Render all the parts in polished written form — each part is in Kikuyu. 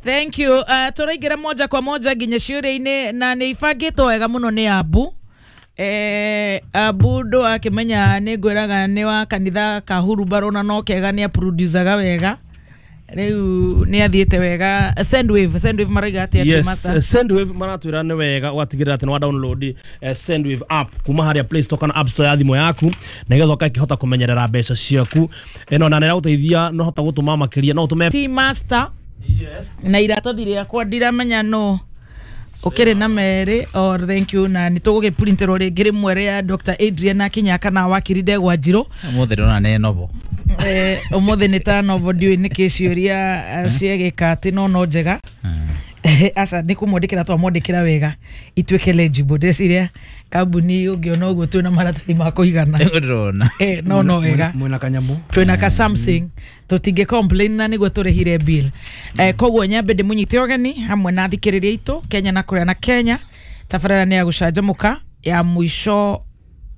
Thank you. Tũraingĩra moja kwa moja nginya ciũria-inĩ na nĩ ibangĩtwo wega mũno nĩ Abu. Abu ndũakĩmenya nĩ ngwĩraga nĩ wa kanitha ka Hurumbarũ na no kega nĩ aproducaga wega. Rĩu nĩ athiĩte wega. Sendwave marauga atĩa? Yes. Master? Sendwave maratwĩra nĩ wega ũgatigĩrĩra atĩ nĩ wa download Sendwave app kuma harĩa Play Store kana App Store ya thimũ yaku, nĩgetha ũgakĩhota kũmenyerera mbeca ciaku ĩno na nĩ ĩragũteithia no hota gũtũma makĩria no ũtũme. T Master. Na iratathi rĩakwa ndiramenya no ũkĩrĩ na merĩ or thank you, na nĩ tũgũgĩprinterwo rĩngĩ rĩmwe rĩa Dr. Adrian akinya kana wakiri Ndegwa Njirũ. Ũmũthĩ ndĩrona nĩ novo. Ũmũthĩ nĩ ta novo, ndiũĩ nĩkĩ ciũria ciegĩka atĩ no njega aca nĩ kũmwandĩkĩra twamwandĩkĩra wega ituĩke legible. Ndĩreciria kambuni ũngĩona ũguo twĩna maratathi ma kũigana. Nĩguo ndĩrona. No wega. Mwena kanyamu. Twĩna ka something tũtingĩ complain na nĩguo tũrĩhire bill. Koguo nyambe ndĩmũnyite ũgeni hamwe na athikĩrĩria aitũ Kenya na kũrĩa na Kenya. Tabarĩra nĩ ya gũcanjamũka ya mũico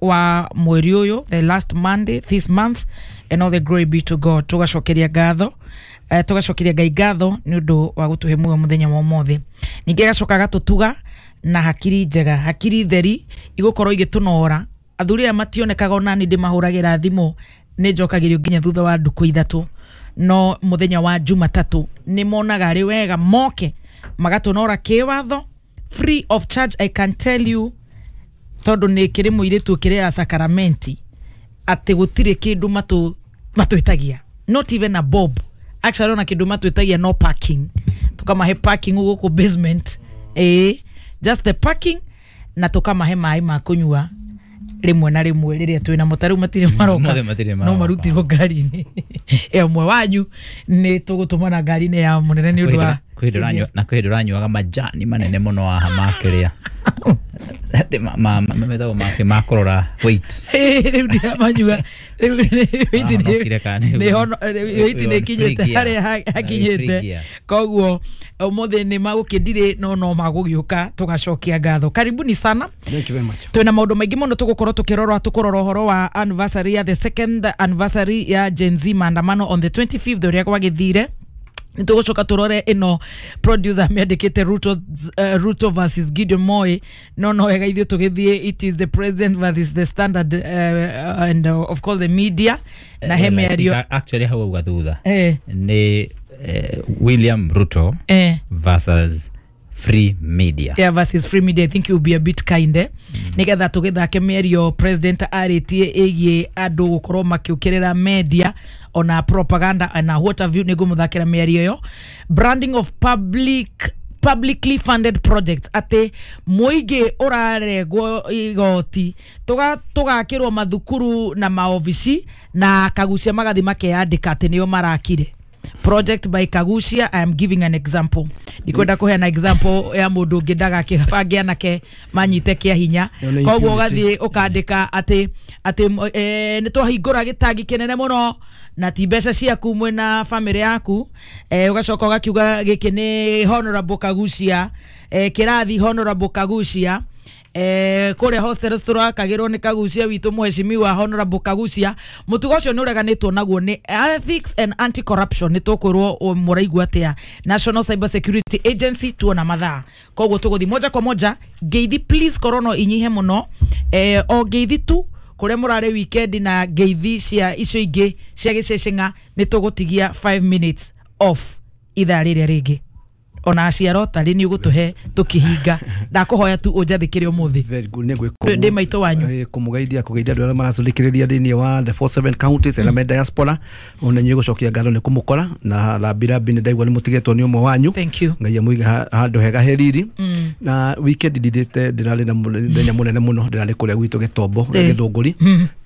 wa mweri ũyũ, the last Monday this month, and all the glory be to God. Tũgacokeria ngatho, tũgacokeria Ngai ngatho nĩ ũndũ wa gũtũhe muoyo mũthenya wa ũmũthĩ. Ningĩ agacoka agatũtuga na hakiri njega, hakiri theri igũkorwo igĩtũnora. Athuri aya mationekaga, ona niĩ ndĩmahũragĩra thimũ nĩ njokagĩrio nginya thutha wa ndukũ 3, no mũthenya wa Jumatatũ nĩ monaga arĩ wega moke magatũnora kĩwatho free of charge. I can tell you, tondũ nĩ kĩrĩ mũirĩtu ũkĩrĩ ya sakaramenti atĩ gũtirĩ kĩndũ matwĩtagia, not even a bob actually. Ona kĩndũ matwĩtagia no parking, tukamahe parking gũkũ basement, just the parking, na tukamahe maĩ ma kũnyua rĩmwe na rĩmwe rĩrĩa twĩna mo. Ta rĩu matirĩ maroka. Ũmũthĩ matirĩ no maroka. Marutirwo ngari-inĩ ya ũmwe wanyu, nĩ tũgũtũmana ngari-inĩ ya mũnene nĩ ũndũ wa Kwĩ hĩndĩ na kwĩ hĩndĩ ũranyuaga majani manene mũno haha makĩrĩa atĩ metagwo make ma kũrora weight. Rĩu ndiramanyua rĩu weight. Wahonokire kana Weight nĩ ĩkinyĩte free gear. harĩa hakinyĩte. Free gear. Koguo ũmũthĩ nĩ magũkĩndirĩ no magũgĩũka, tũgacokia ngatho. Karibuni sana. Thank you very much. Twĩna maũndũ maingĩ mũno tũgũkorwo tũkĩrora, tũkũrora ũhoro wa anniversary ya the second anniversary ya Gen Z maandamano on the 25th, ũrĩa gwagĩthire. Nĩ tũgũcoka tũrore ĩno producer mĩandĩkĩte Ruto versus Gideon Moi, no wega ithuĩ tũgĩthiĩ it is the president versus the Standard and of course the media na he Well, I think mĩario. Actually hau auga thutha nĩ William Ruto versus free media. Yeah, versus free media. I think you'll be a bit kind, eh? Nigetha tũgĩthake mĩario president arĩtie ĩgiĩ andũ gũkorwo makĩũkĩrĩra media ona propaganda na what have you. Nĩ ngũmũthakĩra mĩario ĩyo, branding of publicly funded projects, atĩ mũingĩ ũraregwo igoti tũgakĩrwo mathukuru na maobici na Kagucia magathi makeyandĩka atĩ nĩo marakire, project by Kagucia. I am giving an example, ndikwenda kũheana example ya mũndũ ũngĩ ndagakĩbange anake manyite kĩa hinya. Ĩyo nĩ Koguo impunity. ũgathiĩ ũkandĩka atĩ nĩ twahingũra gĩtangi kĩnene mũno na ti mbeca ciaku mwĩna family yaku, ũgacoka ũgakiuga gĩkĩ nĩ Honorable Kagucia, kĩrathi Honorable Kagucia, kũrĩa hostels tũrakagĩrwo nĩ Kagucia witũ mũheshimiwa Honorable Kagucia. Mũtugo ũcio nĩ ũreganĩtwo naguo nĩ Ethics and Anti Corruption. Nĩ tũkwĩrwo mũraigua atĩa National Cyber Security Agency tuona mathaa. Koguo tũgũthiĩ moja kwa moja. Ngeithi please korwo no inyihe mũno, o ngeithi tu kũrĩa mũrarĩ weekend na ngeithi cia icio ingĩ cia gĩceceng'a. Nĩ tũgũtigia 5 minutes off ithaa rĩrĩa rĩngĩ ona aciaro tarĩ nĩ ũgũtũhe tũkĩhinga. Ndakũhoya tu ũnjathĩkĩre ũmũthĩ. Very good. Nĩ ngwĩka. Ndĩ maitũ wanyu. Kũmũgeithia kũgeithia andũ arĩa maracũthĩkĩrĩria thĩinĩ wa the 47 counties arĩa me diaspora, ona inyuĩ gũcokia ngatho nĩ kũmũkora na rambirambi. Nĩ ndaigua nĩ mũtigĩtwo nĩ ũmwe wanyu. Thank you. Ngai amũige handũ hega he riri. Na weekend ndithĩte ndĩrarĩ na mũthenya mũnene mũno, ndĩrarĩ kũrĩa gwitũ Gĩtombo, Gĩthũngũri.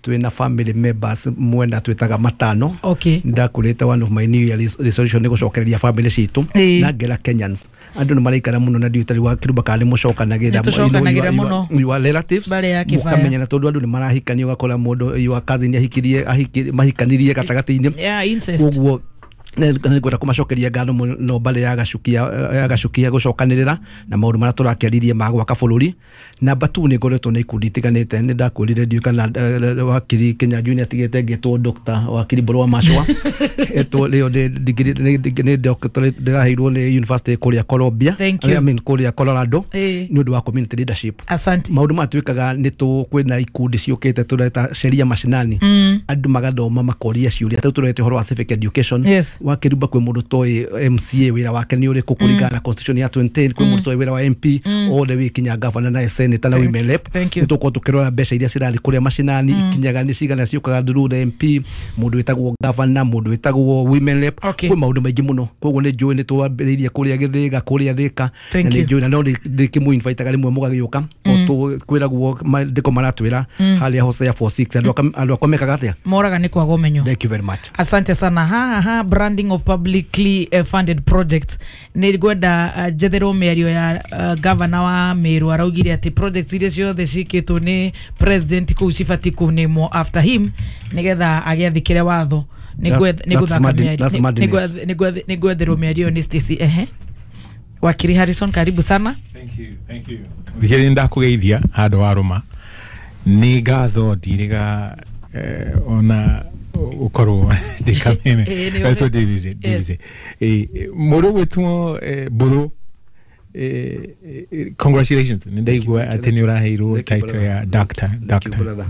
Twĩna family members mwena twĩtaga matano. Ndakurĩte one of my new year resolution nĩ gũcokereria family citũ na ngera Kenyans andũ nĩ maraikara mũno na ndiũ tarĩ wa kĩrumba kana nĩ mũcokanagĩra. Nĩ tũcokanagĩra mũno. Your relatives. Barĩ ya kĩbaya. Mũkamenyana tondũ andũ nĩ marahikania, ũgakora mũndũ your cousin ahikirie mahikanirie gatagatĩ-inĩ. Yeah, incest. Koguo Nĩngwenda kũmacokeria ngatho mũno mbarĩ ya Gacukia gũcokanĩrĩra na maũndũ marĩa tũrakĩaririe ma gwaka bũrũri. Namba 2 nĩ ngoretwo na ikundi itiganĩte, nĩ ndakwĩrire ndiũĩ kana wakiri Kĩnyanjui nĩ atigĩte ngĩtwo Dr. Wakiri Mbũrũ wa Macũa etwo rĩo nĩ doctorate ndĩraheirwo nĩ university kũrĩa Colombia, I mean kũrĩa Colorado, nĩ ũndũ wa community leadership. Asante. Maũndũ maya twĩkaga nĩ kwĩna ikundi ciũkĩte tũreta sheria mashinani, andũ magathoma makoria ciũria, rĩu tũrete ũhoro wa civic education. Yes. Wakĩrumba kwĩ mũndũ toĩ MCA wĩra wake nĩ ũrĩkũ kũringana na constitution ya 2010, kwĩ mũndũ toĩ wĩra wa MP othe wĩ kinya governor na senator na women rep. Nĩ tũkorwo tũkĩrora mbeca iria cirarĩ kũrĩa macinani ikinyaga nĩ cigana ciũkaga through the MP, mũndũ wĩtagwo governor, mũndũ wĩtagwo women rep, kwĩ maũndũ maingĩ mũno. Koguo nĩ njũĩ nĩ twambĩrĩirie kũrĩa Gĩthĩga, kũrĩa Thĩka, na nĩ njũĩ na no ndĩkĩmũ-invitaga rĩmwe mũgagĩũka kwĩragwo ndĩko maratwĩra harĩa Hosea 46 andũ akwa mekaga atĩa, moraga nĩ kwaga ũmenyo. Thank you very much. Asante sana. Ha branding of publicly funded projects. Nĩ ngwenda njetherwo mĩario ya governor wa Meru araugire atĩ projects iria ciothe ciĩkĩtwo nĩ president kũu cibatiĩ kũnĩmwo after him nĩgetha agĩathĩkĩre watho. Nĩ ngwetherwo mĩario nĩ Stacy. Ehe, Wakiri Harrison, karibu sana. Thank you, thank you. Thikĩrĩria ndakũgeithia handũ wa rũma nĩ ngatho ndiriga ona ukorwo ndikameme etwo Davis mũrũ gwĩtwo Mbũrũ, congratulations, nĩ ndaigua atĩ nĩ ũraheirwo title ya doctor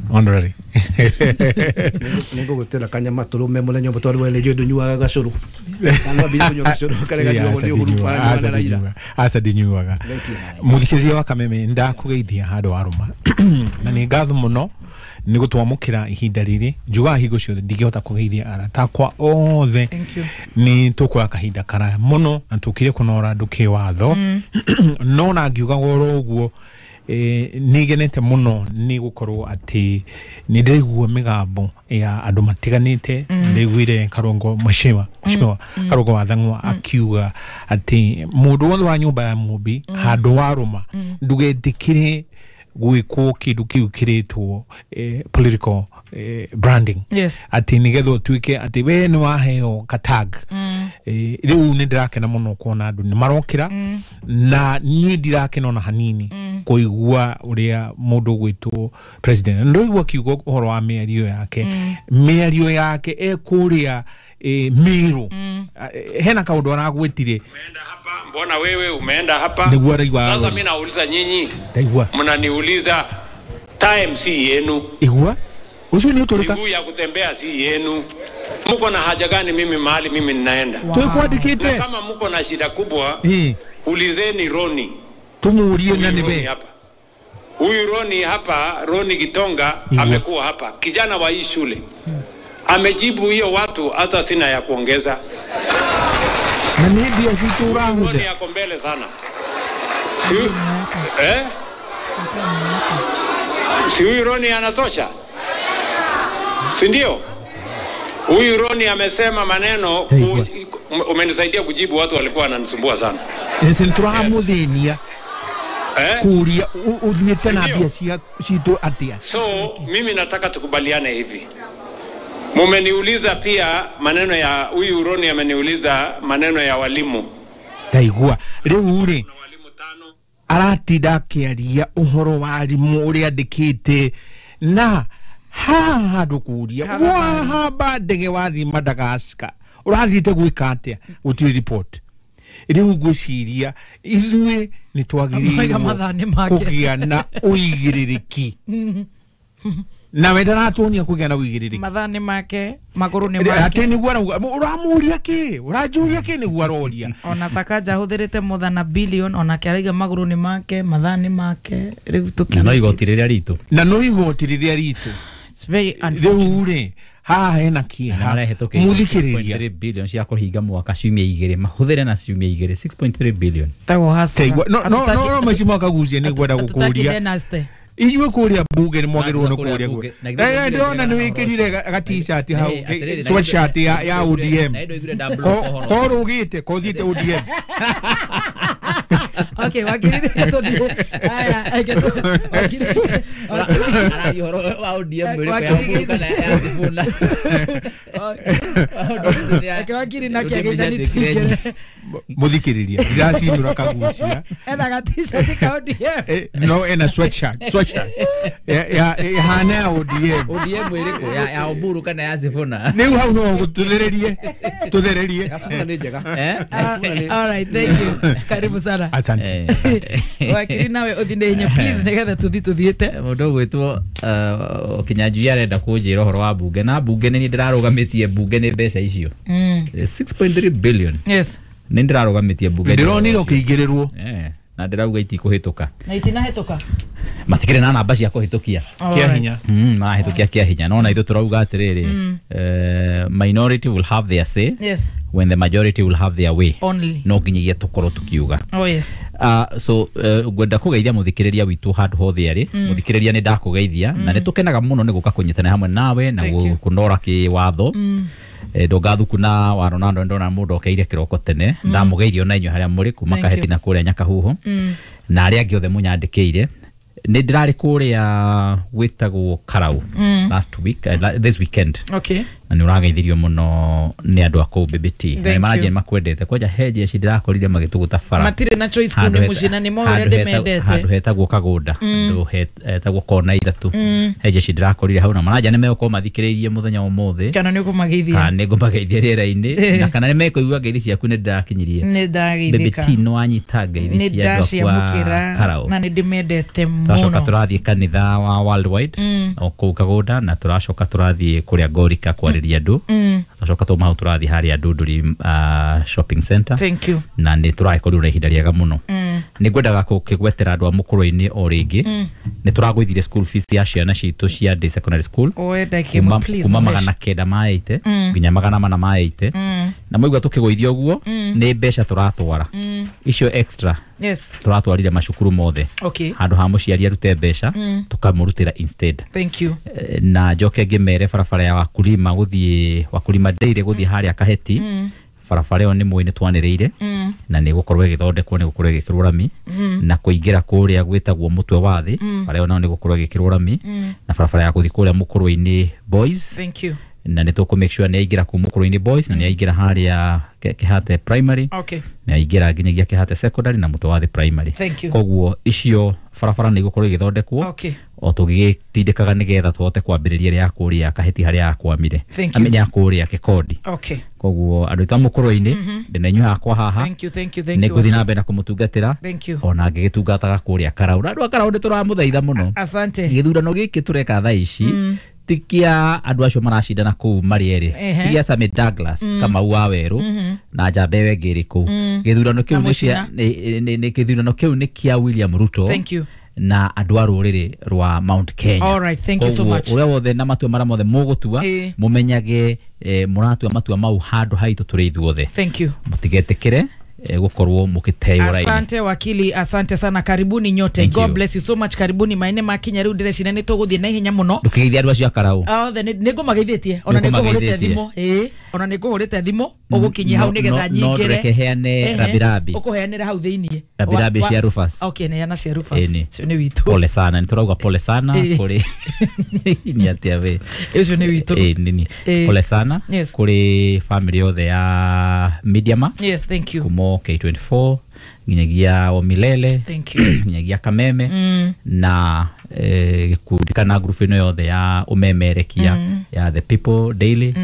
honorary. Nĩ ngũgũtĩra kanyama tũrũme mũthenya ũmwe twarĩ nĩ njũĩ ndũnyuaga gacũrũ. Kana wambire kũnyua gacũrũ karĩa ganyuagwo nĩ Uhuru na Raila. Aca ndinyuaga. Mũthikĩrĩria wa Kameme, ndakũgeithia handũ wa rũma na nĩ ngatho mũno nĩ gũtwamũkĩra ihinda rĩrĩ. Njugaga hingo ciothe ndingĩhota kũgeithia arata akwa othe, nĩ tũkuoya kahinda karaya mũno na tũkire kũnora andũ kĩwatho, no na ngiugaga oro ũguo nĩ ngenete mũno nĩ gũkorwo atĩ nĩ ndĩraigua mĩgambo ya andũ matiganĩte. Ndĩraiguire Karungo mheshimiwa Karungo wa Thang'wa akiuga atĩ mũndũ wothe wa nyũmba ya Mũmbi handũ wa rũma ndũgetĩkĩre gwĩkwo kĩndũ kĩu kĩrĩtwo political branding. Yes. Atĩ nĩgetha ũtuĩke atĩ we nĩ waheo katag. Rĩu nĩ ndĩrakena mũno kuona andũ nĩ marokĩra, na niĩ ndirakena ona hanini kũigua ũrĩa mũndũ ũgwĩtwo president. Ndũigua akiuga ũhoro wa mĩario yake, mĩario yake e kũrĩa Meru, hena kaũndũ aragwĩtire, mbona wewe umeenda hapa? Sasa mimi nauliza nyinyi, mnaniuliza time si yenu. Igua ucio ni uturika, miguu ya kutembea si yenu. Mko na haja gani mimi mahali mimi ninaenda? Wow. Tukwandikite kama mko na shida kubwa, ulizeni Roni. Tumuurie na nibe hapa. Huyu Roni hapa, Roni Gitonga amekuwa hapa, kijana wa hii shule. Amejibu hiyo watu, hata sina ya kuongeza. Na nibia situ Roni yako mbele sana. Si huyu Roni anatosha? Si ndio? Huyu Roni amesema maneno, umenisaidia kujibu watu walikuwa wananisumbua sana. Turamuthenia kuria uthiete na mbia citu atia. So mimi nataka tukubaliane hivi. Mumeniuliza pia maneno ya huyu Roni, ameniuliza maneno ya walimu. Taigua riu ri aratinda akiaria uhoro wa arimu uria andikite na haha handu kuria wahamba ndege wathi Madagascar urathiite gwika atia gutiri report. Riu ngwiciria ithuĩ nĩ twagĩrĩirwo kũgĩa na ũigĩrĩrĩki na wenda ratuonia kũgĩa na ũigĩrĩrĩki. Mathaa nĩ make, magũrũ nĩ make. Atĩ nĩguo arauga, ũramũria kĩ, ũranjũria kĩ, nĩguo aroria. Ona Sakaja ahũthĩrĩte more than a billion, onake arauga magũrũ nĩ make, mathaa nĩ make. Rĩu tũkiuge na no igoti rĩrĩa ritũ, na no igoti rĩrĩa ritũ. It's very unfortunate. Rĩu rĩ haha hena kĩeha mũthikĩrĩria 6.3 billion cia kũhinga mwaka ciumia igĩrĩ mahũthĩre na ciumia igĩrĩ 6.3 billion. Tagwo hacu. No no no mheshimiwa Kaguchia nĩ ngwenda gũkũria inyuĩ kũrĩa bunge nĩ mwagĩrĩirwo nĩ kũrĩa ndĩrona nĩ wĩkĩrire ga t-shirt hau sweatshirt ya ODM ko rũgĩte ko thiĩte ODM. Okay, wakiri tũthiĩ. Aya, wakiri. Araria ũhoro wa ODM ĩrĩkũ ya Uhuru kana ya Sifuna? Reke wakiri nake agĩthani tũingĩre. Muthikiriria ndiracinũra kagucia. Ena ga t-shirt ka ODM. No, ena sweatshirt ihana ya ODM. ODM ĩrĩkũ, ya Uhuru kana ya Sifuna? Rĩu hau no tuthererie tuthererie. Ya Sifuna nĩ njega. All right, thank you. Karibu sana. Asante. Wakiri nawe ũthiĩ na ihenya please nĩgetha tũthiĩ tũthiĩte. Mũndũ ũgwĩtwo Kinyanjui arenda kũnjĩra ũhoro wa bunge, na bunge nĩ niĩ ndĩrarũgamĩtie bunge nĩ mbeca icio 6.3 billion. Yes. Nĩ ndĩrarũgamĩtie bunge. Ndĩronire ũkĩingĩrĩrwo. Na ndĩrauga itikũhĩtũka. Na itinahĩtũka. Matikĩrĩ na namba cia kũhĩtũkia. Kĩa hinya. Marahĩtũkia kĩa hinya. No na ithuĩ tũrauga atĩrĩrĩ, minority will have their say. Yes. When the majority will have their way. Only. No nginyagia tũkorwo tũkiuga. Oh yes. So ngwenda kũgeithia mũthikĩrĩria witũ handũ hothe arĩ. Mũthikĩrĩria nĩ ndakũgeithia na nĩ tũkenaga mũno nĩ gũka kũnyitana hamwe nawe na kũnora kĩwatho. Ndongathuku na wa Ronaldo ndona mũndũ okeire kĩroko tene. Ndamũgeithio na inyuĩ harĩa mũrĩ kuma Kaheti na kũrĩa Nyakahuho. Na arĩa angĩ othe mũnyandĩkĩire. Nĩ ndĩrarĩ kũrĩa gwĩtagwo Karau last week, this weekend. Okay. Na nĩ ũrageithirio mũno nĩ andũ a kũu BBT. Na nĩ makwendete. Kwanja he jeshi ndĩrakorire magĩtũgũta bara. Matirĩ na choice kũu nĩ mũciĩ na nĩ moĩ ũrĩa ndĩmendete. Handũ hetagwo Kagũnda, handũ hetagwo kona ithatũ. He jeshi ndĩrakorire hau na maranja nĩ megũkorwo mathikĩrĩirie mũthenya wa ũmũthĩ. Kana nĩ ũkũmageithia. Kana nĩ ngũmageithia rĩera-inĩ. Na kana nĩ mekũigua ngeithi ciaku nĩ ndĩrakinyirie. Nĩ ndageithĩka. BBT nĩ wanyita ngeithi cia andũ akwa Karau. Na nĩ ndĩmendete mũno. Tũracoka tũrathiĩ kanitha wa Worldwide o kũu Kagũnda, na tũracoka tũrathiĩ kũrĩa Ngorika kwarĩria andũ. Tũracoka twauma hau tũrathiĩ harĩa Ndunduri shopping center. Thank you. Na nĩ tũragĩkorirwo na ihinda rĩega mũno. Nĩ ngwendaga gũkĩgwetera andũ a mũkũrũ-inĩ o rĩngĩ. Nĩ tũragũithirie school fees ya ciana citũ cia day secondary school kuma 980 nginya 480. Na mwaigua tũkĩgũithia ũguo nĩ mbeca tũratwara icio extra. Yes. Tũratwarire macukuru mothe. Okay. Handũ ha mũciari arute mbeca tũkamũrutĩra instead. Thank you. Na njoke ngĩmere barabara ya Wakulima gũthiĩ Wakulima Dairy gũthiĩ harĩa Kaheti. Barabara ĩyo nĩ mũĩ nĩ twanĩrĩire na nĩ gũkorwo ĩgĩthondekwo, nĩ gũkorwo ĩgĩkĩrwo rami. Na kũingĩra kũrĩa gwĩtagwo Mũtwe wa Thĩ, bara ĩyo nayo nĩ gũkorwo ĩgĩkĩrwo rami. Na barabara ya gũthiĩ kũrĩa Mũkũrũ-inĩ Boys. Thank you. Na nĩ tũkũ make sure nĩ aingĩra kũu Mũkũrũ-inĩ Boys na nĩ aingĩra harĩa Kĩhate Primary. Okay. Nĩ aingĩra nginyagia Kĩhate Secondary na Mũtwe wa Thĩ Primary. Thank you. Koguo icio barabara nĩ igũkorwo igĩthondekwo. Okay. O tũgĩtindĩkaga nĩgetha tũhote kwambĩrĩria ĩrĩa ya kũrĩa Kaheti harĩa yakwamire. Thank you. Ya kũrĩa Kĩkondi. Okay. Koguo andũ aitũ a Mũkũrũ-inĩ ndĩna inyuĩ hakwa haha. Thank you, thank you, thank you. Nĩ ngũthiĩ na mbere na kũmũtungatĩra. Thank you. Ona ngĩgĩtungataga kũrĩa Karau. Na andũ a Karau nĩ tũramũthaitha mũno. Asante. Gĩthurano gĩkĩ tũreka thaa ici ti kĩa andũ acio maracindana kũu marĩ erĩ. Ti gĩa Sammy Douglas Kamau wa Werũ na Njamba ĩyo ĩngĩ ĩrĩ kũu. Gĩthurano kĩu nĩ gĩthurano kĩu nĩ kĩa William Ruto. Thank you. Na andũ a rũrĩrĩ rwa Mount Kenya. All right, thank you so much. Ũrĩa wothe na matua marĩa mothe mũgũtua mũmenyage mũratua matua mau handũ haitũ tũrĩ ithuothe. Thank you. Mũtigetĩkĩre gũkorwo mũkĩteo raini. Asante wakili, asante sana, karibuni nyote. Thank God you. Bless you so much. Karibuni maene makinya rĩu ndĩreciria nĩ tũgũthiĩ na ihenya mũno. Ndũkĩgeithia andũ acio a Karau. Othe nĩ ngũmageithĩtie, ona nĩ ngũhũrĩte thimũ. Ona nĩ ngũhũrĩte thimũ ũgũkinyia hau nĩgetha nyingĩre. No ndũreke heane rabirabi. Ũkũheanĩra hau thĩiniĩ. Rabirabi cia Rufus. Okay, neana cia Rufus. Ũcio nĩ witũ. Pole sana, nĩ tũrauga pole sana kũrĩ nĩ atĩa we. Ũcio nĩ witũ. Nini. Pole sana kũrĩ family yothe ya Media Max. Yes, thank you. Kumo K24 nginyagia Omilele. Thank you. Nginyagia Kameme na gĩkundi kana group ĩno yothe ya ũmemerekia ya The People Daily.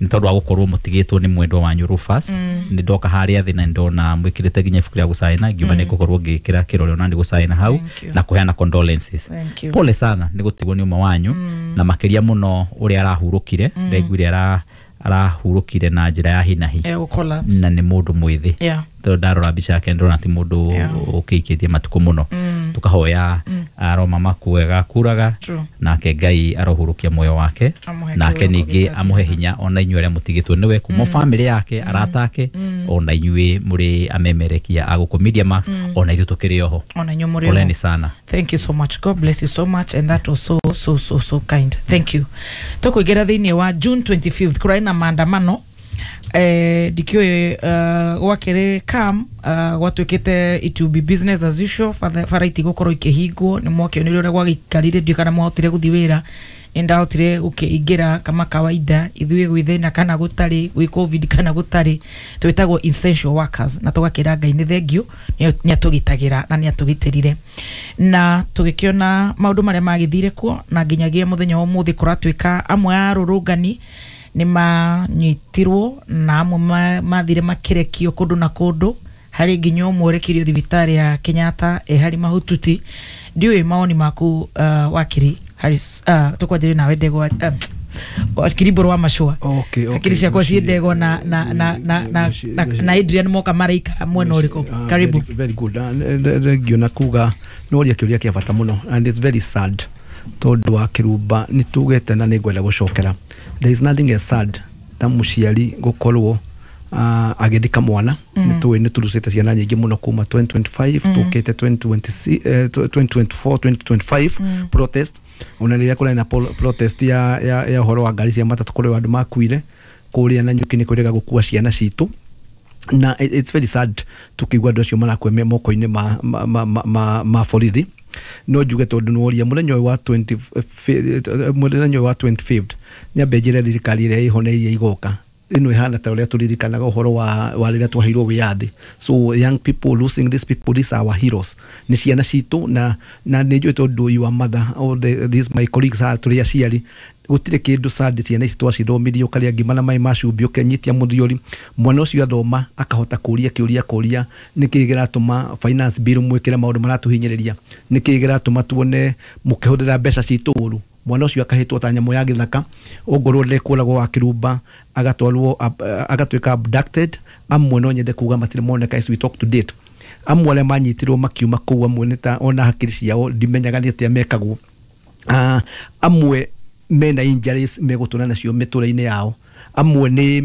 Nĩ tondũ wa gũkorwo mũtigĩtwo nĩ mwendwa wanyu Rufus. Nĩ ndoka harĩa thĩ na ndona mwĩkĩrĩte nginya ibuku rĩa gũcaina, ngiuma nĩ ngũkorwo ngĩkĩra kĩrore ona nĩ gũcaina hau na kũheana condolences. Pole sana nĩ gũtigwo nĩ ũmwe wanyu na makĩria mũno ũrĩa arahurũkire. Ndaiguire arahurũkire na njĩra ya hinahi na nĩ mũndũ mwĩthĩ. Tondũ ndarora mbica yake ndĩrona ti mũndũ ũkĩikĩtie matukũ mũno. Tũkahoya aroma makuega kuraga nake Ngai arohurũkia muoyo wake nake ningĩ amũhe hinya ona inyuĩ arĩa mũtigĩtwo nĩwe kuma family yake arata ake ona inyuĩ mũrĩ amemerekia a gũkũ Media Max ona ithuĩ tũkĩrĩ oho. Ona inyuĩ mũrĩ oho. Poleni sana. Thank you so much. God bless you so much, and that was so so so so kind. Thank you. Tũkũingĩra thĩinĩ wa June 25th kũrarĩ na maandamano Ndikiũĩ gwakĩrĩ cam gwatuĩkĩte it will be business as usual, bara itigũkorwo ikĩhingwo. Nĩ mwakĩonire ũrĩa gwagĩikarire, ndiũĩ kana mwahotire gũthiĩ wĩra. Nĩ ndahotire gũkĩingĩra kama kawaida, ithuĩ gwĩ thĩna kana gũtarĩ, gwĩ COVID kana gũtarĩ, twĩtagwo essential workers, na tũgakĩra Ngai nĩ thengiũ nĩ atũgitagĩra na nĩ atũgitĩrire, na tũgĩkĩona maũndũ marĩa magĩthire kuo, na nginyagia mũthenya wa ũmũthĩ kũratuĩka amwe a arũrũngani nĩ manyitirwo na amwe mathire makĩrekio kũndũ na kũndũ, harĩ nginya ũmwe ũrekirio thibitarĩ ya Kenyatta e harĩ mahututi. Ndiũĩ mawoni maku, wakiri Harris. Tũkwanjĩrĩria nawe ndegwa, wakiri Mbũrũ wa Macũa. Okay. Hakiri ciakwa ciĩ ndegwa na Adrian moka maraikara mwena ũrĩkũ? Karibu. Very, very good. Thengiũ na kuga noria kĩũria kĩa bata mũno, and it's very sad tondũ wa kĩrumba nĩ tugĩte na nĩ ngwenda gũcokera, there is nothing as sad ta mũciari gũkorwo agĩthika mwana. Nĩ tũĩ nĩ tũrucĩte ciana nyingĩ mũno kuma 2025 tũkĩte 2026, 2024, 2025 protest, ona rĩrĩa kũrarĩ na protest ya ũhoro wa ngari cia matatũ, kũrĩ andũ makuire kũrĩa na nyuki nĩ kwĩrĩga gũkua ciana citũ, na it's very sad tukigua andũ acio marakua me moko-inĩ ma borithi. No njuge tondũ nĩworia mũthenya ũyũ wa 20 mũthenya ũyũ wa 25th, nyambe njĩre thirikari ĩrĩa ĩho na iria igoka, ĩno ĩhana ta ũrĩa tũririkanaga ũhoro wa rĩrĩa twaheirwo wĩyathi. So young people losing these people, these are our heroes, nĩ ciana citũ, na nĩ njũĩ tondũ you are mother, all these my colleagues are, tũrĩ aciari, gũtirĩ kĩndũ sad. Ciana ici twacithomithirie, ũkarĩa ngima na maĩ ma cumbĩ, ũkenyitia mũthiori, mwana ũcio athoma akahota kũria kĩũria, kũria nĩkĩĩ kĩratũma finance bill mwĩkĩre maũndũ maratũhinyĩrĩria, nĩkĩĩ kĩratũma tuone mũkĩhũthĩra mbeca citũ ũru. Mwana ũcio akahĩtwo ta nyamũ ya gĩthaka, ongorwo ndekũragwo wa kĩrumba, agatwarwo agatuĩka abducted. Amwe no nyende kuga matirĩ moneka as we talk to date. Amwe arĩa manyitirwo makiuma kũu, amwe nĩ ta ona hakiri ciao ndimenyaga nĩ atĩa mekagwo. Amwe mena injuries megũtũra nacio mĩtũra-inĩ yao, amwe nĩ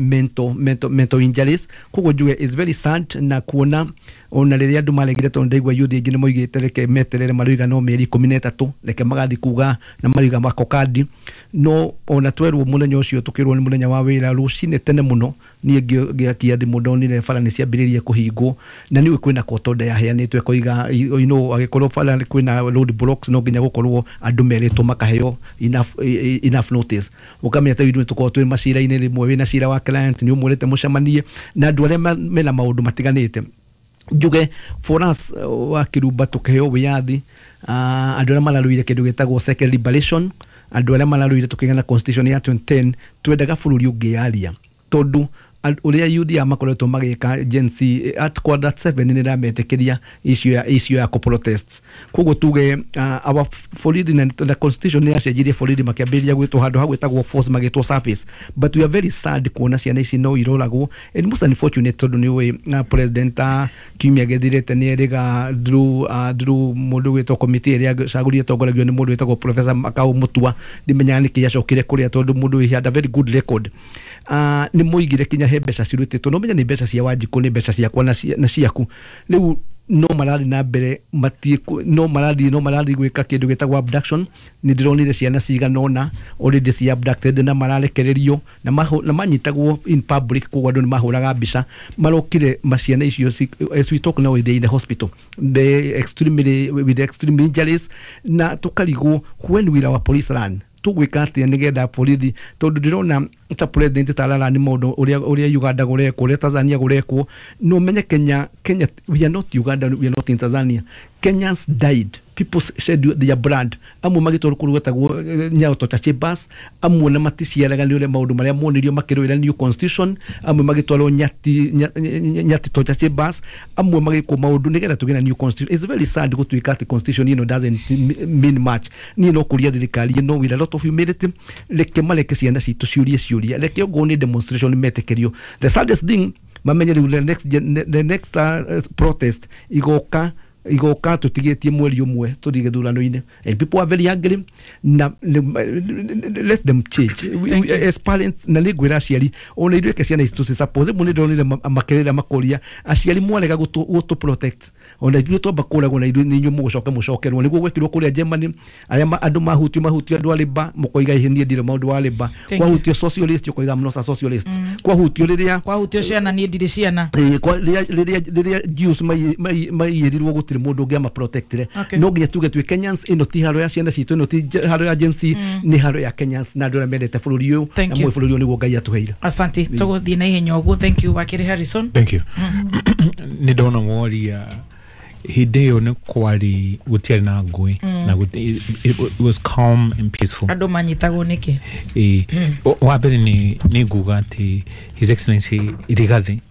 mental injuries. Koguo njuge is very sad na kuona ona rĩrĩa andũ maregire, tondũ ndaigua youth aingĩ nĩ moigĩte reke meterere, maroiga no mĩeri 13 reke magathiĩ kuga na maroiga makokandi. No ona twerwo mũthenya ũcio, tũkĩrwo nĩ mũthenya wa wĩra, rũcinĩ tene mũno niĩ ngĩakia thimũ ndonire bara nĩ ciambĩrĩirie kũhingwo, na nĩũĩ kwĩna court order yaheanĩtwo ĩkoiga angĩkorwo bara kwĩna road blocks, no nginya gũkorwo andũ merĩtwo makaheo enough notice. Ũkamenya ta ithuĩ tũkoragwo twĩ macira-inĩ, rĩmwe wĩna cira wa client nĩ ũmwĩrĩte mũcemanie na andũ arĩa mena maũndũ matiganĩte. Njuge for us, wa kĩrumba, tũkĩheo wĩyathi, andũ arĩa mararũire kĩndũ gĩtagwo second liberation, andũ arĩa mararũire tũkĩgĩa na constitution ya 2010, twendaga bũrũri ũngĩyaria, tondũ ũrĩa youth ya makoretwo magĩka Gen Z at quarter 7 nĩ ĩrametĩkĩria issue ya protest. Koguo tuge our borithi na the constitution nĩ yacenjirie, borithi makĩambĩrĩria gwĩtwo handũ ha gwĩtagwo force magĩtwo service. But we are very sad kuona ciana ici no iroragwo, and most unfortunate tondũ nĩ ũĩ president kiumia gĩthirĩte nĩ erĩga through mũndũ gwĩtwo committee ĩrĩa cagũrire tongoragio nĩ mũndũ wĩtagwo Professor Makau Mutua. Ndimenyaga nĩkĩ acokire kũrĩa tondũ mũndũ he had a very good record. Nĩ moigire kinya he mbeca cirutĩtwo, no menya nĩ mbeca cia Wanjikũ, nĩ mbeca ciakwa na ciaku. Rĩu no marathiĩ na mbere no marathiĩ gwĩka kĩndũ gĩtagwo abduction. Nĩ ndĩronire ciana cigana ũna already ci abducted na mararekererio na manyitagwo in public, koguo andũ nĩ mahũraga mbica marokire maciana icio. As we talk now, they in the hospital, they extremely with extreme injuries, na tũkarigwo, when will our police run? Tũgwĩka atĩa nĩgetha borithi, tondũ ndĩrona ta president tarara nĩ maũndũ ũrĩa Uganda gũrekwo, ũrĩa Tanzania gũrekwo. No menye Kenya, we are not Uganda, we are not in Tanzania. Kenyans died, people shed their blood, amwe magĩtwarwo kũrĩa gwetagwo Nyayo Torture Chambers, amwe na maticiaraga nĩ ũrĩa maũndũ marĩa monirio makĩrũĩra new constitution, amwe magĩtwarwo Nyati Torture Chambers, amwe magĩkwo maũndũ nĩgetha tũgĩe na new constitution. It's very sad gũtuĩka atĩ constitution ĩno doesn't mean much. Niĩ no kũria thirikari ĩno with a lot of humility, reke mareke ciana citũ ciũrie ciũria, reke ongorwo nĩ demonstration metĩkĩrio. The saddest thing, mamenye rĩu the next protest igoka. Igoka tutigetie mweri umwe tuthie githurano-ini, and people are very angry na let them change. We, as parents, na nĩ ngwĩra aciari ona ithuĩ ke ciana ici tũci-support. Rĩmwe nĩ ndonire makerera makoria aciari mwarega gũtũ protect, ona ithuĩ twamba kũragwo na ithuĩ nĩ inyuĩ mũgũcoka mũcokerwo. Nĩguo gwekirwo kũrĩa Germany, arĩa andũ mahutio andũ a Labour mũkoiga ihe niĩ ndirĩ maũndũ wa Labour, kwahutio socialist ũkoiga I'm not a socialist, kwahutio rĩrĩa kwahutio ciana niĩ ndirĩ ciana, rĩrĩa Jews maiyĩrirwo gũtirĩ mũndũ ũngĩ amaprotectire. No nginya tuge twĩ Kenyans, ĩno ti haro ya ciana citũ, ĩno ti haro ya Gen Z, nĩ haro ya Kenyans na andũ arĩa mendete bũrũri ũyũ, na mũĩ bũrũri ũyũ nĩguo Ngai atũheire. Asante, tũgũthiĩ na ihenya ũguo. Thank you Wakiri Harrison. Thank you. Nĩ ndona woria hĩndĩ ĩyo nĩ kwarĩ gũtiarĩ na ngũĩ na it was calm and peaceful. Andũ manyitagwo nĩkĩ? Wa mbere nĩ nguga atĩ His Excellency Rigathi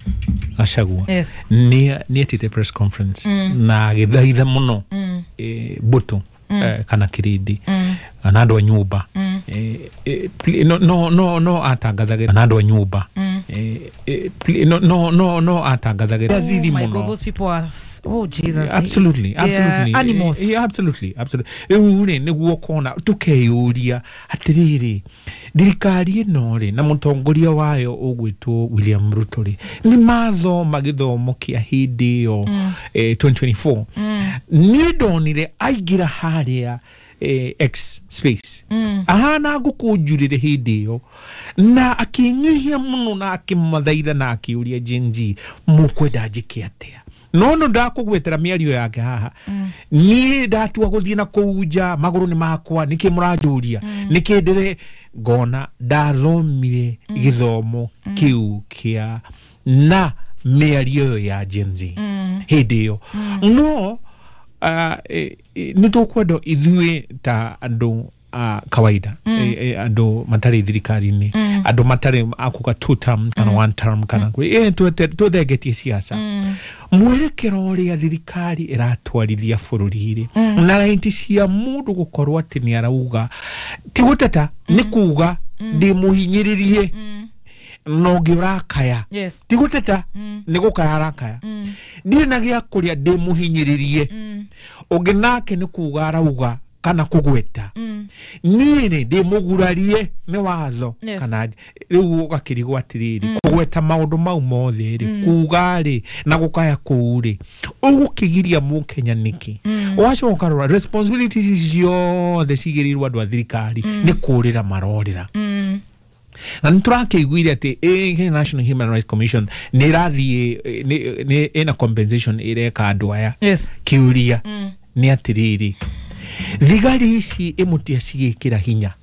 Gachagua nĩ etĩte press conference na agĩthaitha mũno mbũtũ kana kĩrĩndĩ kana andũ a nyũmba, no atangathagĩra na andũ a nyũmba, no atangathagĩra thiri mũno. Those people are, oh Jesus, absolutely, absolutely animals. Yeah, absolutely, absolutely. Rĩu rĩ nĩguo ũkona tũkeyũria atĩrĩrĩ, thirikari ĩno rĩ na mũtongoria wayo ũgwĩtwo William Ruto rĩ nĩ mathoma gĩthomo kĩa hĩndĩ ĩyo 2024. Niĩ ndonire aingĩra harĩa X space ahana ngũkũ njurĩre hĩndĩ ĩyo na akĩnyihia mũno na akĩmathaitha na akĩũria Gen Z mũkwenda njĩke atĩa. No no ndakũgwetera mĩario yake haha, niĩ ndatua gũthiĩ na kũu nja magũrũ nĩ makwa, nĩkĩ mũranjũria, nĩkĩ ndĩre ngona ndathomire gĩthomo kĩu kĩa na mĩario ĩyo ya Gen Z hĩndĩ ĩyo. No nĩ tũkwenda ithuĩ ta andũ a kawaida, andũ matarĩ thirikari-inĩ, andũ matarĩ akuga two term kana one term kana twethengetie siasa, mwerekero ũrĩa thirikari ĩratwarithia bũrũri-rĩ na raiti cia mũndũ gũkorwo atĩ nĩ arauga ti gũteta, nĩ kuga ndĩmũhinyĩrĩrie na ũngĩ ũrakaya, ti gũteta, nĩ gũkaya arakaya, ndirĩ na gĩa kũrĩa ndĩmũhinyĩrĩrie, ũngĩ nake nĩ kuga arauga kana kũgweta niĩ rĩ ndĩmũgurarie nĩ watho kana rĩu ũgakĩrigwo atĩrĩrĩ kũgweta maũndũ mau mothe rĩ kuga rĩ na gũkaya kũu rĩ ũgũkĩgiria mũkenya nĩkĩ? Ũgacoka ũkarora responsibilities ici ciothe cigĩrĩirwo andũ a thirikari nĩ kũrĩra marorĩra. Na nĩ tũrakĩiguire atĩ Kenya National Human Rights Commission nĩ ĩrathiĩ ĩna compensation ĩreka andũ aya. Kĩũria nĩ atĩrĩrĩ, thigari ici ĩmũtia cigĩkĩra hinya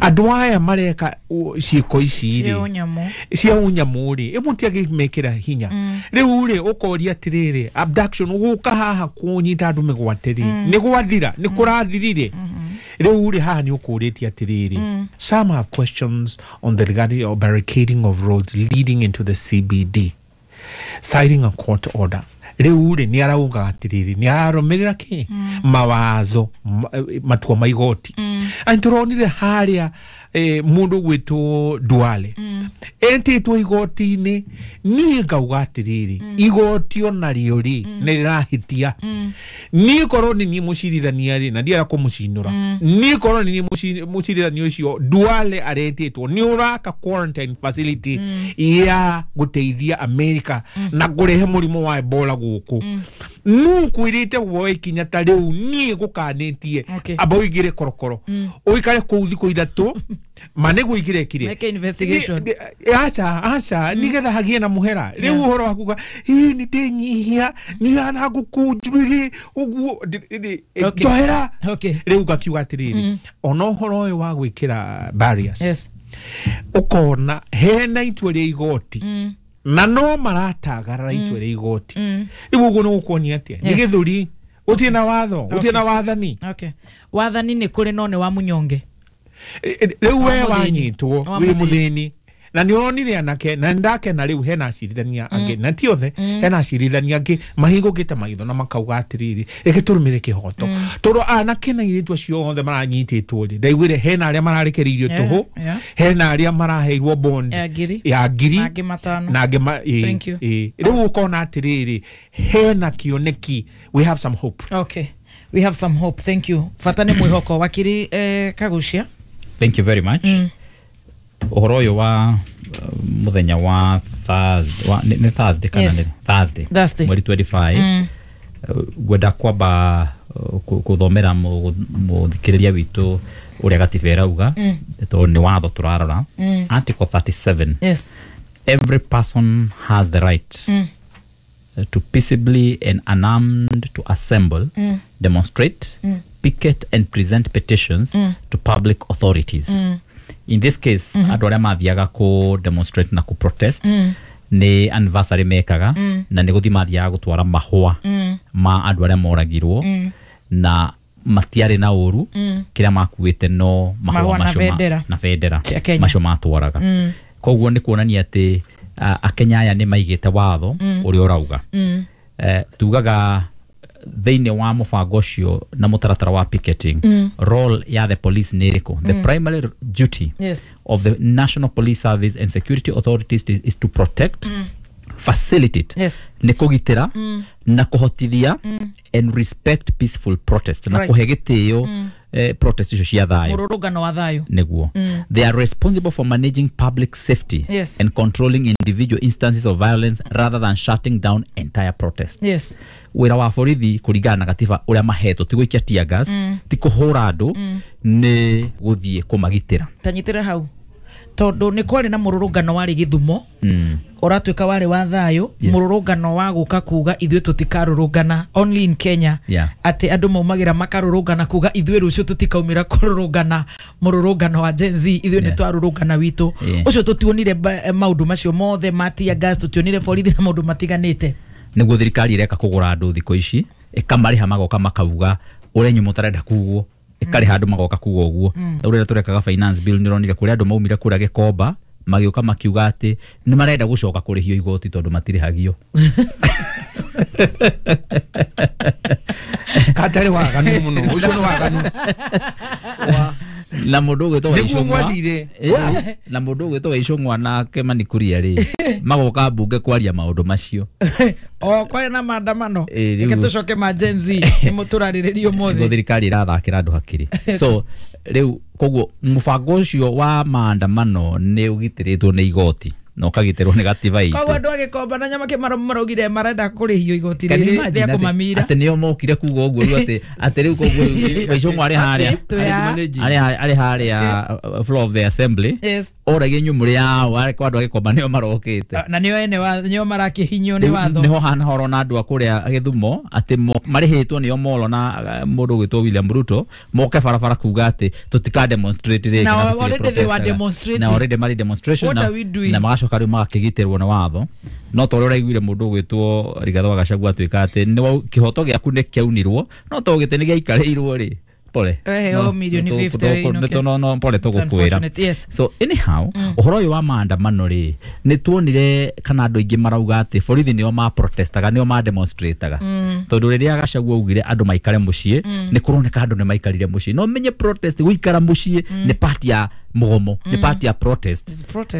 andũ aya mareka ciĩko ici rĩ cia ũnyamũ rĩ ĩmũtia gĩmekĩra hinya. Rĩu rĩ ũkoria atĩrĩrĩ, abduction gũka haha kũnyita andũ mĩgwate rĩ nĩ gwathira, nĩ kũrathirire? Rĩu rĩ haha nĩ ũkũrĩtie atĩrĩrĩ, some have questions on the regarding of barricading of roads leading into the CBD citing a court order. Rĩu rĩ nĩ arauga atĩrĩrĩ nĩ ararũmĩrĩra kĩ mawatho matua ma igoti. Na nĩtũronire harĩa mũndũ ũgwĩtwo Duale etĩtwo igoti-inĩ, niĩ ngauga atĩrĩrĩ igoti onarĩo rĩ nĩ rĩrahĩtia. Niĩ korwo nĩ niĩ mũcirithania rĩ na ndienda kũmũcinũra, niĩ korwo nĩ niĩ mũcirithania ũcio Duale aretĩtwo nĩ ũraka quarantine facility ya gũteithia America na kũrehe mũrimũ wa Ebola gũkũ, nũ kwĩrĩte woe ikinya ta rĩu niĩ ngũkanĩtie amba ũingĩre korokoro ũikare kũu thikũ ithatũ ma nĩguo ingĩrekire aca aca nĩgetha hagĩe na mũhera. Rĩu ũhoro wa kuga ĩ nĩ ndĩnyihia nĩ hana ngũkũ njuĩrĩ ũguo njohera. Rĩu ngakiuga atĩrĩrĩ ona ũhoro ũyũ wa gwĩkĩra barriers ũkona hena itua rĩa igoti na no maratagarara itua rĩa igoti. Rĩu ũguo nĩ gũkuonia atĩa nĩ gĩthũri, gũtirĩ na watho, gũtirĩ na wathani. Wathani nĩ kũrĩ no nĩ wa mũnyonge. Rĩu we wanyitwo wĩ mũthĩni Na nĩ ũronire anake na ndakena rĩu hena acirithania angĩ na ti othe, hena acirithania angĩ mahingũkĩte maitho na makauga atĩrĩrĩ, reke tũrũmĩre kĩhoto, tondũ anake na airĩtu acio othe maranyitĩtwo rĩ, ndaiguire hena arĩa mararekereirio tũhũ, hena arĩa maraheirwo bond ya ngiri na angĩ matano na angĩ. Rĩu ũkona atĩrĩrĩ, hena kĩoneki, we have some hope. Okay, we have some hope. Thank you. Bata nĩ mwĩhoko. Wakiri Kagucia, thank you very much. Ũhoro ũyũ wa mũthenya wa Thursday, nĩ Thursday kana nĩ Thursday mweri 25, ngwenda kwamba kũthomera mũthikĩrĩria witũ ũrĩa gatiba ĩrauga, tondũ nĩ watho tũrarora. Article 37. Yes. Every person has the right to peaceably and unarmed to assemble, demonstrate, picket and present petitions to public authorities. In this case, andũ arĩa mathiaga ku demonstrate na ku protest nĩ anniversary mekaga, na nĩ gũthiĩ mathiaga gũtwara mahũa ma andũ arĩa moragirwo, na matiarĩ na ũru, kĩrĩa makuĩte no mahũa macio na bendera macio matwaraga. Koguo nĩ kuonania atĩ Akenya aya nĩ maigĩte watho ũrĩa ũrauga. Tugaga thĩinĩ wa mũbango ũcio na mũtaratara wa picketing, role ya the police nĩ ĩrĩkũ? The primary duty of the National Police Service and security authorities is to protect, facilitate, nĩ kũgitĩra na kũhotithia, and respect peaceful protest, na kũhe gĩtĩo protest icio cia thayũ, mũrũrũngano wa thayũ nĩguo. They are responsible for managing public safety and controlling individual instances of violence rather than shutting down entire protests. Yes. Wĩra wa borithi kũringana na gatiba ũrĩa mahetwo ti gũikia tear gas, ti kũhũra andũ, nĩ gũthiĩ kũmagitĩra. Tanyitĩre hau, tondũ nĩ kwarĩ na mũrũrũngano warĩ Gĩthumo, ũratuĩka warĩ wa thayũ, mũrũrũngano wa gũka kuga ithuĩ tũtikarũrũngana, only in Kenya, atĩ andũ maumagĩra makarũrũngana kuga ithuĩ rũciũ tũtikaumĩra kũrũrũngana mũrũrũngano wa Gen Z, ithuĩ nĩ twarũrũngana witũ. Ũcio tũtionire maũndũ macio mothe ma tear gas, tũtionire borithi na maũndũ matiganĩte. Nĩguo thirikari ĩreka kũgũra andũ thikũ ici, ĩkamarĩha magoka makauga ũrĩa inyuĩ mũtarenda kugwo, ĩkarĩha andũ magoka kuga ũguo. Ũrĩa tũrekaga finance bill nĩ ũronire kũrĩa andũ maumire kũrĩa Gĩkomba magĩũka makiuga atĩ nĩ marenda gũcoka kũrĩhio igoti tondũ matirĩhagio. Katarĩ waganu mũno, ũcio nĩ waganu. Na mũndũ ũgwĩtwo Waicũng'wa, na mũndũ ũgwĩtwo Waicũng'wa na Kĩmani Kuria rĩ, magoka mbunge kwaria maũndũ macio. O kwarĩ na maandamano, reke tũcoke ma Gen Z nĩmo tũrarĩrĩria ũmũthĩ. Nĩguo thirikari ĩrathakĩra andũ hakiri. So rĩu koguo mũbango ũcio wa maandamano nĩ ũgitĩrĩtwo nĩ igoti na ũkagitĩrwo nĩ gatiba itũ. Koguo andũ a Gĩkomba na Nyamakĩ maraugire marenda kũrĩhio igoti rĩrĩ rĩa kũmamira. Atĩ nĩo mokire kuga ũguo rĩu atĩ rĩu koguo Waicũng'wa arĩ harĩa arĩ harĩa floor of the assembly, oragia inyuĩ mũrĩ ao, arĩ kwa andũ a Gĩkomba nĩo marokĩte na nĩo ene nĩo marakĩhinyio nĩ watho. Nĩho hana horo na andũ a kũrĩa Gĩthumo atĩ marĩhĩtwo nĩo molo na mũndũ ũgwĩtwo William Ruto moke barabara kuga atĩ tũtika demonstrate rĩngĩ, na already they were demonstrating, na already marĩ demonstration, na magacoka rĩu magakĩgitĩrwo nĩ watho. No ta ũrĩa ũraiguire mũndũ ũgwĩtwo Rigathĩ wa Gachagua atuĩka atĩ nĩ kĩhoto gĩaku nĩ kĩaunirwo, no to gĩtĩ nĩ gĩaikarĩirwo rĩ, pole milioni 50 no pole tũgũkwĩra. So anyhow, ũhoro ũyũ wa maandamano rĩ, nĩ tuonire kana andũ aingĩ marauga atĩ borithi nĩo ma protestaga, nĩo ma demonstrataga, tondũ rĩrĩa Gachagua augire andũ maikare mũciĩ, nĩ kũroneka andũ nĩ maikarire mũciĩ. No menye protest gũikara mũciĩ nĩ part ya mũgomo, nĩ part ya protest.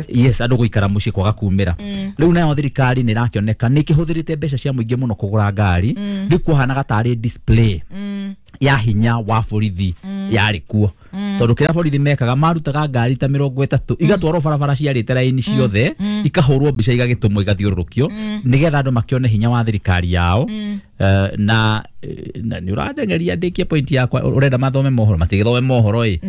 Yes, andũ gũikara mũciĩ kwaga kumĩra. Rĩu nayo thirikari nĩ ĩrakĩoneka nĩ ĩkĩhũthĩrĩte mbeca cia mũingĩ mũno kũgũra ngari, rĩu kũhanaga tarĩ display ya hinya wa borithi yarĩ kuo, tondũ kĩrĩa borithi mekaga marutaga ngari ta 30 igatwarwo barabara ciarĩte raini ciothe, ikahũrwo mbica igagĩtũmwo igathiũrũrũkio nĩgetha andũ makĩone hinya wa thirikari yao. Na nĩ ũrandengeria ndĩkie point yakwa, ũrenda mathome mohoro matigĩthome mohoro ĩ,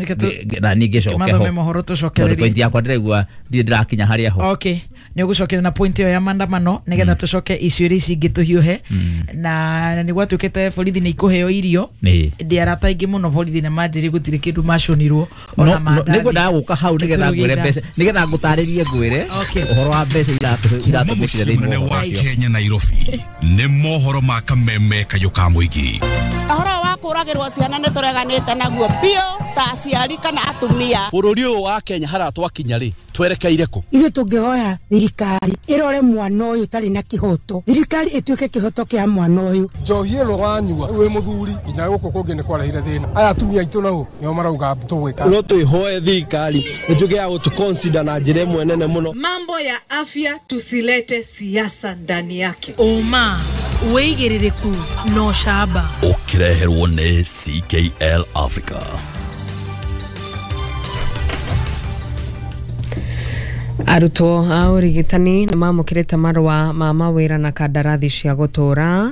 na niĩ ngĩcoke ho tondũ point yakwa ndĩraigua ndirĩ ndĩrakinya harĩa ho. Okay, nĩ ũgũcokera na point ĩyo ya maandamano nĩgetha tũcoke icio iria ici ingĩ tũhiũhe. Na nĩ gwatuĩkĩte borithi nĩ ikũheo irio, ndĩ arata aingĩ mũno borithi na manjĩrĩ gũtirĩ kĩndũ maconirwo ona mandathi. Nĩngwendaga gũka hau nĩgetha ngwĩre mbeca, nĩgetha ngũtarĩrie ngwĩre ũhoro wa mbeca iratũmĩkire thĩinĩ wa Kenya Nairobi. Nĩ mohoro ma Kameme kayũ ka mũingĩ. Ũhoro wa kũragĩrwo ciana nĩ tũreganĩte naguo biũ. Ta aciari kana atumia. Bũrũri ũyũ wa Kenya haria twakinya rĩ, twerekeire kũ? Ithuĩ tũngĩhoya thirikari ĩrore mwana ũyũ ũtarĩ na kĩhoto, thirikari ĩtuĩke kĩhoto kĩa mwana ũyũ. Njohi ĩno wanyua wĩ mũthuri nginya gũkũ kũngĩ nĩ kwarehire thĩna. Aya atumia aitũ nao nĩo marauga tũgwĩka. No twĩhoe thirikari ĩtuĩke ya gũtũ na njĩra ĩmwe nene mũno. Mambo ya afya tusilete siasa ndani yake. Ũma, wĩigĩrĩrĩku na ũcamba. Ũkĩreherwo nĩ CKL Africa. Arutwo a ũrigitani nĩ mamũkĩrĩte marũa ma mawĩra na kandarathi cia gũtũũra.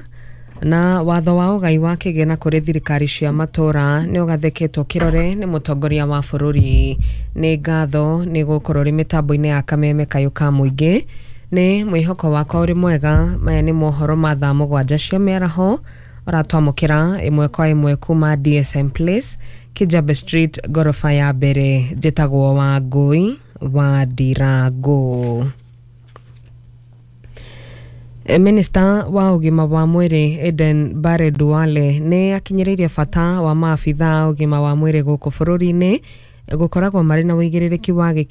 Na watho wa ũgai wa kĩgĩna kũrĩ thirikari cia matũũra nĩ ũgathĩkĩtwo kĩrore nĩ mũtongoria wa bũrũri. Nĩ ngatho nĩ gũkorwo rĩ mĩtambo-inĩ ya kameme kayũ ka mũingĩ. Nĩ mwĩhoko wakwa ũrĩ mwega. Maya nĩ mohoro ma thaa 7 cia mĩaraho ũratwamũkĩra ĩmwe kwa ĩmwe kuma DSM Place, Kijabe Street, goroba ya mbere. Njĩtagwo Wangũi wa Ndirango. Minista wa ũgima wa mwĩrĩ Aden Barre Duale nĩ akinyĩrĩirie bata wa maabitha a ũgima wa mwĩrĩ gũkũ bũrũri-inĩ gũkoragwo marĩ na ũigĩrĩrĩki wa gĩkĩro.